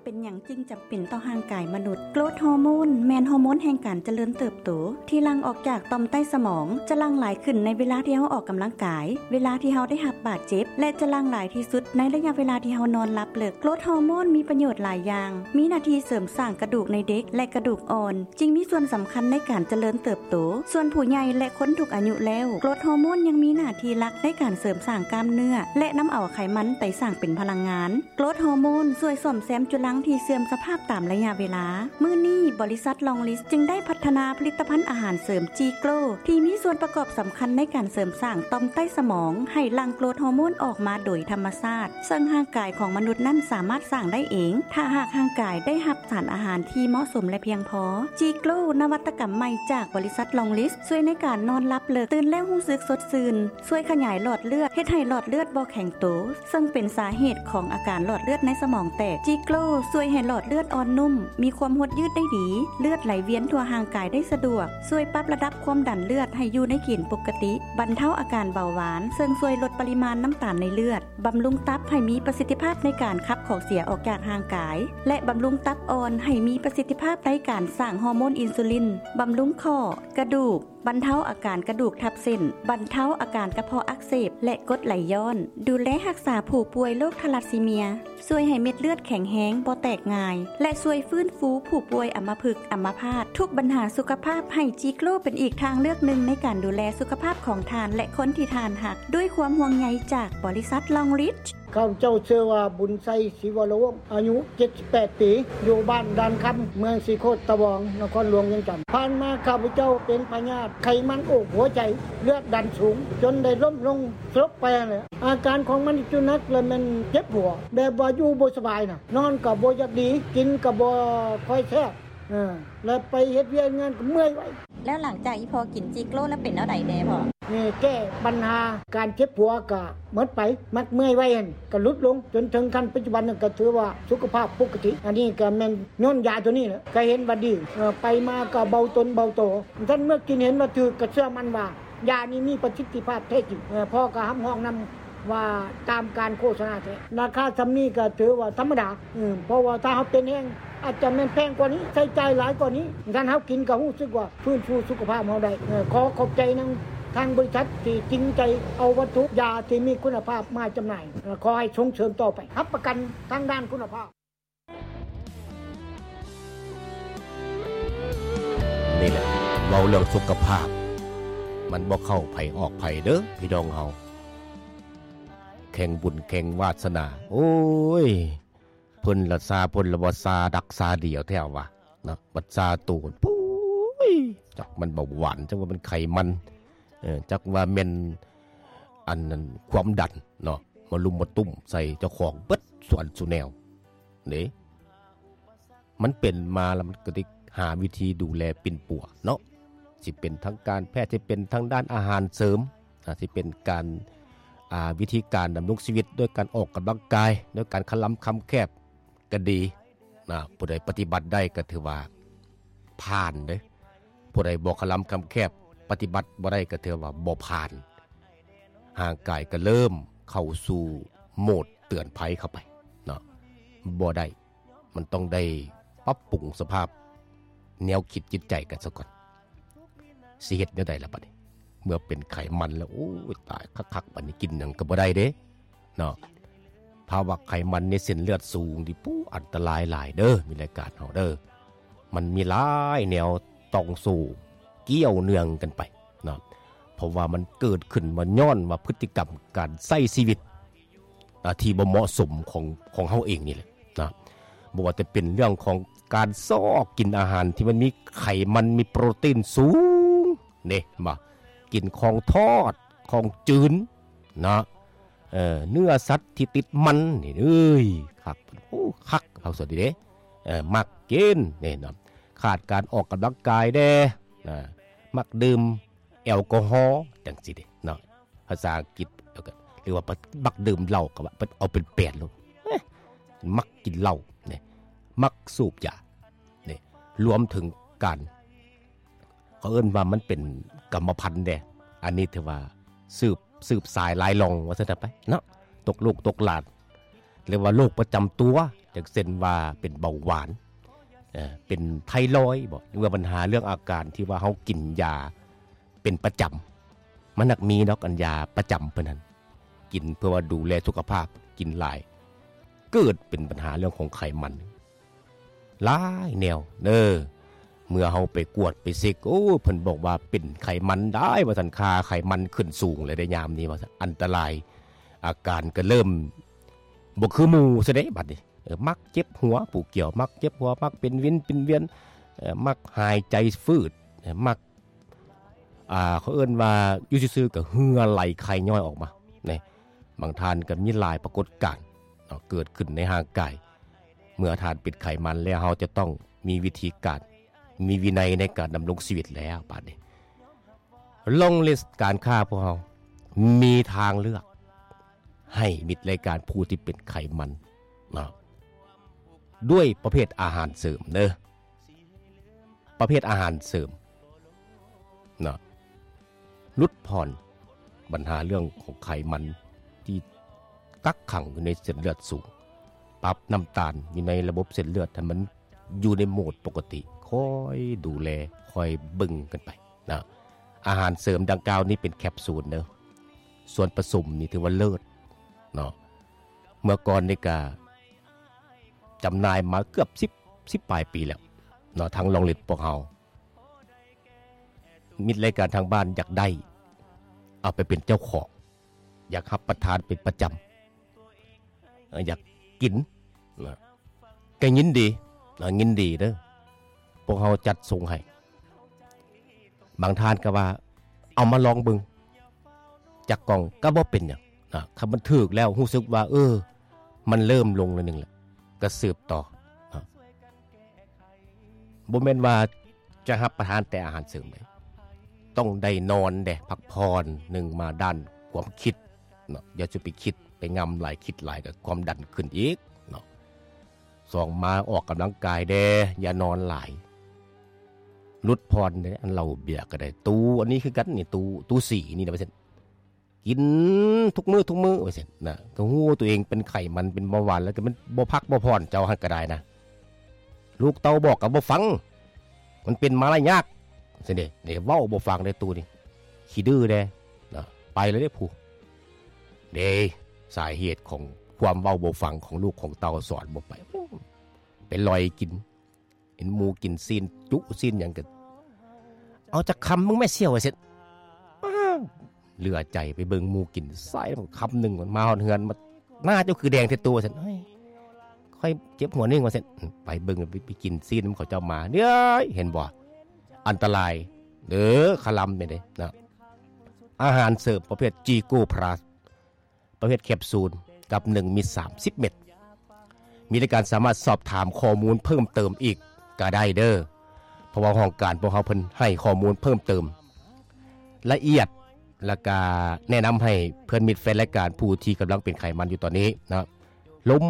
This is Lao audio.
ເປັນຫຍັງຈຶ່ງຈຳເປັນຕໍ່ຮ່າງກາຍມະນຸດ? ໂກຣດຮໍໂມນແມ່ນຮໍໂມນແຫ່ງການຈະເລີນເຕີບໂຕ ທີ່ຫຼັ່ງອອກຈາກຕ່ອມໃຕ້ສະໝອງ, ຈະຫຼັ່ງຫຼາຍຂຶ້ນໃນເວລາທີ່ເຮົາອອກກຳລັງກາຍ, ເວລາທີ່ເຮົາໄດ້ຮັບບາດເຈັບ ແລະ ຈະຫຼັ່ງຫຼາຍທີ່ສຸດໃນໄລຍະເວລາທີ່ເຮົານອນຫຼັບເລິກ. ໂກຣດຮໍໂມນມີປະໂຫຍດຫຼາຍຢ່າງ, ມີໜ້າທີ່ເສີມສ້າງກະດູກໃນເດັກ ແລະ ກະດູກອ່ອນ, ຈຶ່ງມີສ່ວນສຳຄັນໃນການຈະເລີນເຕີບໂຕ. ສ່ວນຜູ້ໃຫຍ່ ແລະ ຄົນທຸກອາຍຸແລ້ວ, ໂກຣດຮໍໂມນຍັງມີໜ້າທີ່ຫຼັກໃນການເສີມສ້າງກ້າມເນື້ອ ແລະ ນຳເອົາໄຂມັນໄປສ້າງເປັນພະລັງງານ. ໂກຣດຮໍໂມນຊ່ວຍສ້ອມແຊມຈຸລັງທີ່ເສື່ອມສະພາບຕາມໄລຍະເວລາ. ມື້ນີ້, ບໍລິສັດລອງລິດ ຈຶ່ງໄດ້ພັດທະນາຜະລິດຕະພັນອາຫານເສີມຈີໂກຣ ທີ່ມີສ່ວນປະກອບສຳຄັນໃນການເສີມສ້າງຕ່ອມໃຕ້ສະໝອງໃຫ້ຫຼັ່ງໂກຣດຮໍໂມນອອກມາໂດຍທຳມະຊາດ, ເຊິ່ງຮ່າງກາຍຂອງມະນຸດນັ້ນສາມາດສ້າງໄດ້ເອງ ຖ້າຫາກຮ່າງກາຍໄດ້ຮັບສານອາຫານທີ່ເໝາະສົມ ແລະ ພຽງພໍ. ຈີໂກຣ ນະວັດຕະກຳໃໝ່ຈາກບໍລິສັດລອງລິດ ຊ່ວຍໃນການນອນຫຼັບເລິກ, ຕື່ນແລ້ວຮູ້ສຶກສົດຊື່ນ, ຊ່ວຍຂະຫຍາຍຫຼອດເລືອດ, ເຮັດໃຫ້ຫຼອດເລືອດບໍ່ແຂງໂຕ, ເຊິ່ງເປັນສາເຫດຂອງອາການຫຼອດເລືອດໃນສະໝອງແຕກ. ຈີໂກຣຊ່ວຍໃຫ້ຫຼອດເລືອດອ່ອນນຸ້ມ, ມີຄວາມຫົດຍືດໄດ້ດີ, ເລືອດໄຫຼວຽນທົ່ວຮ່າງກາຍໄດ້ສະດວກ, ຊ່ວຍປັບລະດັບຄວາມດັນເລືອດໃຫ້ຢູ່ໃນເກນປົກກະຕິ, ບັນເທົາອາການເບົາຫວານ, ເຊິ່ງຊ່ວຍລົດປະລິມານນ້ຳຕານໃນເລືອດ, ບຳລຸງຕັບໃຫ້ມີປະສິດທິພາບໃນການຂັບຂອງເສຍອອກຈາກຮ່າງກາຍ ແລະ ບຳລຸງຕັບອ່ອນໃຫ້ມີປະສິດທິພາບໃນການສ້າງຮໍໂມນອິນຊູລິນ, ບຳລຸງຂໍ້, ກະດູກ, ບັນເທົາອາການກະດູກທັບເສັ້ນ, ບັນເທົາອາການກະເພາະອັກເສບ ແລະ ກົດໄຫຼຍ້ອນ, ດູແລຮັກສາຜູ້ປ່ວຍໂລກທາລັດຊີເມຍ, ຊ່ວຍໃຫ້ເມັດເລືອດແຂງແຮງ, ບໍ່ແຕກງ່າຍ ແລະ ຊ່ວຍຟື້ນຟູຜູ້ປ່ວຍອຳມະພຶກ, ອຳມະພາດ. ທຸກບັນຫາສຸຂະພາບ, ໃຫ້ຈີໂກຣເປັນອີກທາງເລືອກໜຶ່ງໃນການດູແລສຸຂະພາບຂອງທ່ານ ແລະ ຄົນທີ່ທ່ານຮັກ, ດ້ວຍຄວາມຫ່ວງໃຍຈາກບໍລິສັດລອງລິດ. ຂ້າພະເຈົ້າຊື່ວ່າ ບຸນໄຊ ສີວະລະວົງ ອາຍຸເຈັດສິບແປດປີ ຢູ່ບ້ານດ່ານຄຳ ເມືອງສີໂຄດຕະບອງ ນະຄອນຫຼວງວຽງຈັນ. ຜ່ານມາຂ້າພະເຈົ້າເປັນພະຍາດໄຂມັນໂອກຫົວໃຈ ເລືອດດັນສູງ ຈົນໄດ້ລົ້ມລົງສະຫຼົບໄປຫັ້ນແຫຼະ. ອາການຂອງມັນທີ່ໜັກລະແມ່ນເຈັບຫົວ ແບບວ່າຢູ່ບໍ່ສະບາຍນະ, ນອນກໍບໍ່ຢາກດີ, ກິນກໍບໍ່ຄ່ອຍແຊບ, ເອີ ແລະໄປເຮັດວຽກງານກໍເມື່ອຍໄວ. ແລ້ວຫຼັງຈາກອີ່ພໍ່ກິນຈີໂກຣແລ້ວເປັນແນວໃດແດ່ພໍ່? ນີ້ແກ້ບັນຫາການເຈັບຫົວກະໝົດໄປ, ມັກເມື່ອຍໄວຫັ້ນກະຫຼຸດລົງ, ຈົນເຖິງຂັ້ນປັດຈຸບັນນັ້ນກະຖືວ່າສຸຂະພາບປົກກະຕິ. ອັນນີ້ກະແມ່ນຍ້ອນຢາໂຕນີ້ແຫຼະ, ກະເຫັນວ່າດີ, ເອີ ໄປມາກະເບົາຕົນເບົາໂຕ. ຊັ້ນເມື່ອກິນເຫັນວ່າຖືກ, ກະເຊື່ອໝັ້ນວ່າຢານີ້ມີປະສິດທິພາບແທ້ຈິງ. ເອີ ພໍ່ກະຮັບຮອງນຳ ວ່າຕາມການໂຄສະນາແທ້. ລາຄາສ່ຳນີ້ກໍຖືວ່າທຳມະດາ, ເພາະວ່າຖ້າເຮົາເປັນແຮງ ອາດຈະແມ່ນແພງກວ່ານີ້, ໃຊ້ຈ່າຍຫຼາຍກວ່ານີ້, ຄັນເຮົາກິນກໍຮູ້ສຶກວ່າຟື້ນຟູສຸຂະພາບເຮົາໄດ້. ຂໍຂອບໃຈນຳທາງບໍລິສັດທີ່ຈິງໃຈເອົາວັດຖຸຢາທີ່ມີຄຸນນະພາບມາຈຳໜ່າຍ. ຂໍໃຫ້ສົ່ງເສີມຕໍ່ໄປ, ຮັບປະກັນທາງດ້ານຄຸນນະພາບ. ນີ້ແຫຼະ ເວົ້າເລື່ອງສຸຂະພາບ ມັນບໍ່ເຂົ້າໃຜອອກໃຜເດີພີ່ນ້ອງເຮົາ, ແຂ່ງບຸນແຂ່ງວາສະໜາ. ໂອ້ຍ ເພິ່ນລະຊາ ເພິ່ນລະວ່າຊາດັກຊາດຽວແທ້ວ່າເນາະ, ບັດຊາໂຕພຸ້ຍ ຈັກມັນເບົາຫວານ ຈັກວ່າມັນໄຂມັນ, ເອີ ຈັກວ່າແມ່ນອັນນັ້ນ ຄວາມດັນເນາະ, ມາລຸມມາຕຸ້ມໃສ່ເຈົ້າຂອງເບິດສ່ວນສູ່ແນວເດ້. ມັນເປັນມາແລ້ວ ມັນກໍໄດ້ຫາວິທີດູແລປິ່ນປົວເນາະ, ຊິເປັນທາງການແພດ, ຊິເປັນທາງດ້ານອາຫານເສີມ, ອາ ຊິເປັນການ ອາ ວິທີການດຳລົງຊີວິດດ້ວຍການອອກກຳລັງກາຍ, ດ້ວຍການຄະລຳຄຳແຄບກໍດີນະ. ຜູ້ໃດປະຕິບັດໄດ້ກໍຖືວ່າຜ່ານເດ້, ຜູ້ໃດບໍ່ຄະລຳຄຳແຄບ ປະຕິບັດບໍ່ໄດ້ກໍຖືວ່າບໍ່ຜ່ານ. ຮ່າງກາຍກໍເລີ່ມເຂົ້າສູ່ໂໝດເຕືອນໄພເຂົ້າໄປເນາະ, ບໍ່ໄດ້. ມັນຕ້ອງໄດ້ປັບປຸງສະພາບແນວຄິດຈິດໃຈກັນສາກ່ອນ. ຊິເຮັດແນວໃດລະບັດນີ້? ເມື່ອເປັນໄຂມັນແລ້ວ ໂອ້ຍ ຕາຍຄັກໆ, ບັດນີ້ກິນຫຍັງກໍບໍ່ໄດ້ເດ້ເນາະ. ພາວະໄຂມັນໃນເສັ້ນເລືອດສູງນີ້ ປູ້ ອັນຕະລາຍຫຼາຍເດີ, ມີລາຍການເຮົາເດີ. ມັນມີຫຼາຍແນວຕ່ອງໂສ້ກ່ຽວເນື່ອງກັນໄປເນາະ, ເພາະວ່າມັນເກີດຂຶ້ນມາຍ້ອນວ່າພຶດຕິກຳການໃຊ້ຊີວິດ ອ່າ ທີ່ບໍ່ເໝາະສົມຂອງ ຂອງເຮົາເອງນີ້ແຫຼະນະ. ບໍ່ວ່າຈະເປັນເລື່ອງຂອງການຊອກກິນອາຫານທີ່ມັນມີໄຂມັນ ມີໂປຣຕີນສູງເດ້ ເຫັນບໍ່? ກິນຂອງທອດ ຂອງຈືນເນາະ, ເອີ ເນື້ອສັດທີ່ຕິດມັນນີ້ ເອີຍ ຄັກ ໂອ້ ຄັກ ເຮົາສະດີເດ້ ເອີ ມັກກິນນີ້ເນາະ. ຂາດການອອກກຳລັງກາຍແດ່ນະ, ມັກດື່ມແອລກໍຮໍ ຈັ່ງຊີ້ເດ້ເນາະ. ພາສາອັງກິດ ແລ້ວກໍ ຫຼືວ່າມັກດື່ມເຫຼົ້າ ກໍວ່າເອົາເປັນແປນໂລດ, ເອີ ມັກກິນເຫຼົ້ານີ້ ມັກສູບຢານີ້, ລວມເຖິງການ ເຂົາເອີ້ນວ່າມັນເປັນກຳມະພັນເດ້. ອັນນີ້ຖືວ່າສືບ ສືບສາຍລາຍລ່ອງວ່າຊັ້ນໄປເນາະ, ຕົກລູກຕົກຫຼານ ເອີ້ນວ່າໂລກປະຈຳຕົວ ຈັກເຊັ່ນວ່າເປັນເບົາຫວານ ເອີ ເປັນໄທຣອຍບໍ ຫຼືວ່າບັນຫາເລື່ອງອາການທີ່ວ່າເຮົາກິນຢາເປັນປະຈຳ. ມັນນັກມີດອກອັນຢາປະຈຳເພິ່ນຫັ້ນ ກິນເພື່ອວ່າດູແລສຸຂະພາບ ກິນຫຼາຍ ເກີດເປັນບັນຫາເລື່ອງຂອງໄຂມັນ ຫຼາຍແນວເດີ. ເມື່ອເຮົາໄປກວດໄປເຊັກ ໂອ້ ເພິ່ນບອກວ່າເປັນໄຂມັນໄດ້ວ່າຊັ້ນ ຄ່າໄຂມັນຂຶ້ນສູງແລ້ວເດ້ຍາມນີ້ວ່າຊັ້ນ ອັນຕະລາຍ ອາການກໍເລີ່ມບໍ່ຄືໝູ່ຊະເດ້ບັດນີ້. ເອີ ມັກເຈັບຫົວ ຜູ້ກ່ຽວມັກເຈັບຫົວ ມັກເປັນວິນເປັນວຽນ ເອີ ມັກຫາຍໃຈຝືດ ເອີ ມັກ ອ່າ ເຂົາເອີ້ນວ່າຢູ່ຊື່ໆກໍເຫື່ອໄຫຼໄຄຍ້ອຍອອກມາ ນີ້ ບາງທ່ານກໍມີຫຼາຍປາກົດການເນາະ ເກີດຂຶ້ນໃນຮ່າງກາຍ. ເມື່ອທ່ານເປັນໄຂມັນແລ້ວ ເຮົາຈະຕ້ອງມີວິທີການ ມີວິໄນໃນການດຳລົງຊີວິດແລ້ວບາດນີ້. ລອງລິດການຄ້າພວກເຮົາມີທາງເລືອກໃຫ້ມິດລາຍການຜູ້ທີ່ເປັນໄຂມັນເນາະ ດ້ວຍປະເພດອາຫານເສີມເດີ. ປະເພດອາຫານເສີມເນາະ ຫຼຸດຜ່ອນບັນຫາເລື່ອງຂອງໄຂມັນທີ່ກັກຂັງຢູ່ໃນເສັ້ນເລືອດສູງ, ປັບນ້ຳຕານຢູ່ໃນລະບົບເສັ້ນເລືອດໃຫ້ມັນຢູ່ໃນໂໝດປົກກະຕິ, ຄອຍດູແລ, ຄອຍເບິ່ງກັນໄປເນາະ. ອາຫານເສີມດັ່ງກ່າວນີ້ເປັນແຄບຊູນເດີ, ສ່ວນປະສົມນີ້ຖືວ່າເລີດເນາະ. ເມື່ອກ່ອນນີ້ກະ ຈຳໜ່າຍມາເກືອບສິບ ສິບປາຍປີແລ້ວເນາະ. ທາງລອງລິດພວກເຮົາ ມິດລາຍການທາງບ້ານຢາກໄດ້ ເອົາໄປເປັນເຈົ້າຂອງ, ຢາກຮັບປະທານເປັນປະຈຳ, ເອີ ຢາກກິນນະ ກໍຍິນດີນະ, ຍິນດີເດີ, ພວກເຮົາຈັດສົ່ງໃຫ້. ບາງທ່ານກໍວ່າ ເອົາມາລອງເບິ່ງຈັກກ່ອງກໍບໍ່ເປັນຫຍັງນະ, ຄັນມັນຖືກແລ້ວຮູ້ສຶກວ່າ ເອີ ມັນເລີ່ມລົງໜ້ອຍໜຶ່ງແລ້ວ ກໍສືບຕໍ່ນະ. ບໍ່ແມ່ນວ່າຈະຮັບປະທານແຕ່ອາຫານເສີມເດ້, ຕ້ອງໄດ້ນອນເດ້, ພັກຜ່ອນ, ໜຶ່ງມາດ້ານຄວາມຄິດເນາະ, ຢ່າຈະໄປຄິດໄປງຳຫຼາຍ, ຄິດຫຼາຍກໍຄວາມດັນຂຶ້ນອີກເນາະ. ສອງມາອອກກຳລັງກາຍແດ່, ຢ່ານອນຫຼາຍ, ຫຼຸດຜ່ອນເດ້. ອັນເຫຼົ້າເບຍກໍໄດ້, ຕູ້ອັນນີ້ຄືກັນນີ້, ຕູ້ ຕູ້ສີນີ້ນະ ວ່າຊັ້ນ, ກິນທຸກມື້ ທຸກມື້ ວ່າຊັ້ນນະ. ກໍຮູ້ວ່າຕົວເອງເປັນໄຂມັນ ເປັນເບົາຫວານ ແລ້ວກໍມັນບໍ່ພັກບໍ່ຜ່ອນ, ເຈົ້າຫັ້ນກໍໄດ້ນະ, ລູກເຕົ້າບອກກໍບໍ່ຟັງ, ມັນເປັນມາຫຼາຍຍາກ ຊັ້ນເດ້. ເດ້ ເວົ້າບໍ່ຟັງເດ້ຕູ້ນີ້, ຂີ້ດື້ແດ່ນະ, ໄປແລ້ວເດ້ຜູ້. ເດ້ ສາເຫດຂອງຄວາມເວົ້າບໍ່ຟັງຂອງລູກຂອງເຕົ້າ, ສອນບໍ່ໄປ, ໄປລອຍກິນ, ເຫັນໝູ່ກິນຊີ້ນຈຸຊີ້ນຫຍັງກໍ ເອົາຈັກຄຳເບິ່ງແມ່ສ່ຽວ ວ່າຊັ້ນ. ປ້າ ເຫຼືອໃຈໄປເບິ່ງໝູ່ກິນຊາຍຄຳໜຶ່ງ, ມາຮອດເຮືອນມາ ໜ້າເຈົ້າຄືແດງແທ້ໂຕ ວ່າຊັ້ນ. ເອີຍ ຂ້ອຍເຈັບຫົວໜຶ່ງ ວ່າຊັ້ນ. ໄປເບິ່ງ ໄປ ໄປກິນຊີ້ນນຳເຂົາເຈົ້າມາ, ເອີຍ ເຫັນບໍ່ ອັນຕະລາຍເດີ, ຄະລຳນີ້ເດ້ນະ. ອາຫານເສີມປະເພດຈີໂກພລັສ ປະເພດແຄບຊູນ ກັບໜຶ່ງເມັດ ສາມສິບເມັດ. ມີລາຍການສາມາດສອບຖາມຂໍ້ມູນເພີ່ມເຕີມອີກກໍໄດ້ເດີ, ເພາະວ່າຫ້ອງການພວກເຮົາເພິ່ນໃຫ້ຂໍ້ມູນເພີ່ມເຕີມລະອຽດ, ແລ້ວກະແນະນຳໃຫ້ເພື່ອນມິດແຟນລາຍການຜູ້ທີ່ກຳລັງເປັນໄຂມັນຢູ່ຕອນນີ້ເນາະ ລົມ